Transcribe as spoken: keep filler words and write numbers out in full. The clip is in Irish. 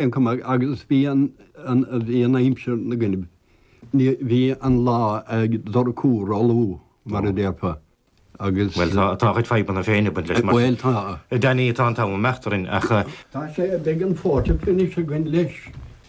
Aon chuma agus bhí an bhí an aimsir na gcoinnibh. Bhí an lá ag dorchú róluath mar a déarfá agus. Bhuel tá tá a chuid fadhbanna féin ag baint leis mar. Bhuel tá. Danny tá an t-am ag imeacht orainn ach. Tá sé beidh an forty finish againn leis.